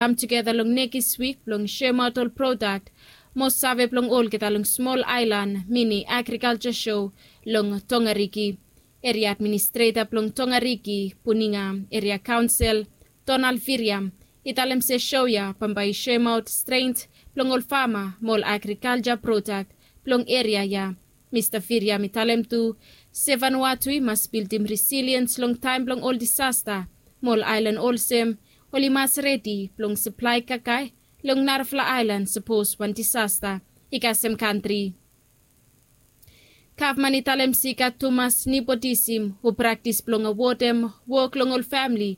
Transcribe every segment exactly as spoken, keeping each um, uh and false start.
kam tugeta long nekis wik blong soemaot ol prodak mo save blong olgeta long smol aelan mini agrikalja sho long Tongariki. Eria administreta blong Tongariki, Puninga Eria Kaonsel, Donald Viriam, i talem se sho ya bambae i soemaot strength blong ol fama mo ol agrikalja prodak blong eria ya. Mista Viriam i talem tu se Vanuatu i mas bildim resiliens long taem blong ol disasta mo ol aelan olsem oli mas redi blong saplae kakae long narafala aelan sapos wan disasta i kasem kantri. Gavman i talem se i gat tumas nepotism we praktis blong awodem wok long ol famili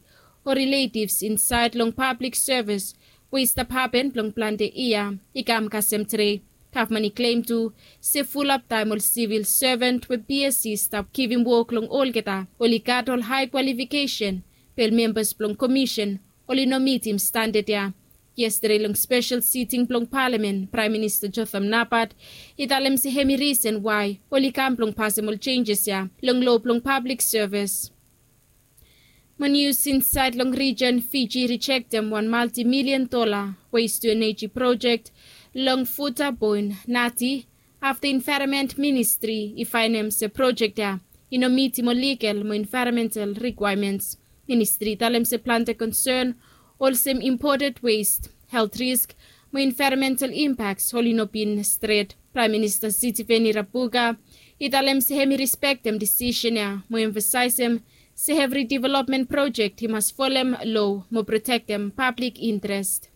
o riletivs insaed long pablik sevis we i stap hapen blong plante yia i kam kasem tre. Gavman i klem tu se fulap taem ol sivil seven we BSC i stap givim wok long olgeta oli gat ol hae kwalifikesen, be ol membas blong komisen oli no mitim standad ya. Yestade long spesel siting blong palamen, Praem Minista Jotham Napat i talem se hem i risen wae oli kam blong pasem ol jenjes ya long loa blong pablik sevis. Mo nius insaed long rijen, Fiji i rijektem wan maltimilian dola west-tu-eneji projek long Futa Boin Nati afta Envaeronment Ministri i faenem se projek ya i no mitim ol ligal mo envaeronmental rikwaemens. Ministri i talem se plante konsen olsem impoted west, helt risk mo envaeronmental impaks oli no bin stret. Praem Minista Sitiveni Rabuka i talem se hem i rispektem disisen ya mo emfasaesem se evri developmen projek i mas folem loa mo protektem pablik intrest.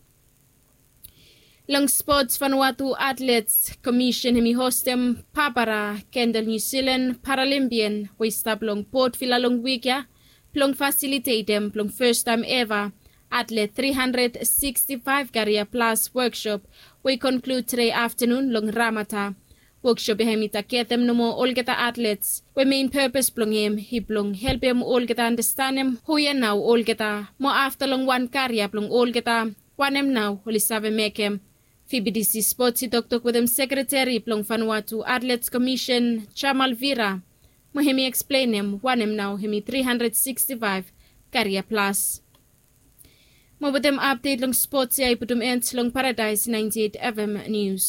Long spots, Vanuatu Atlets Komisen hem i hostem Papara Kendal Niu Silan Paralimpian we i stap long Port Vila long wik ya blong fasilitetem blong fastaem eva atlet tri handred siksti faef karia plas wokshop we i konklud tre aftanun long Ramata. Wokshop ya hem i tagetem nomo olgeta atlets we mein pepes blong hem i blong helpem olgeta andastanem hu ya nao olgeta mo afta long wan karia blong olgeta wanem nao oli save mekem. VBTC Spots i toktok wetem sekreteri blong Vanuatu Atlets Komisen Jamal Vira mo hem i eksplenem wanem nao hem i tri handred siksti faef karia plas. Mo wetem apdet long spots ya i putum en long Paradaes naenti eit FM Nius.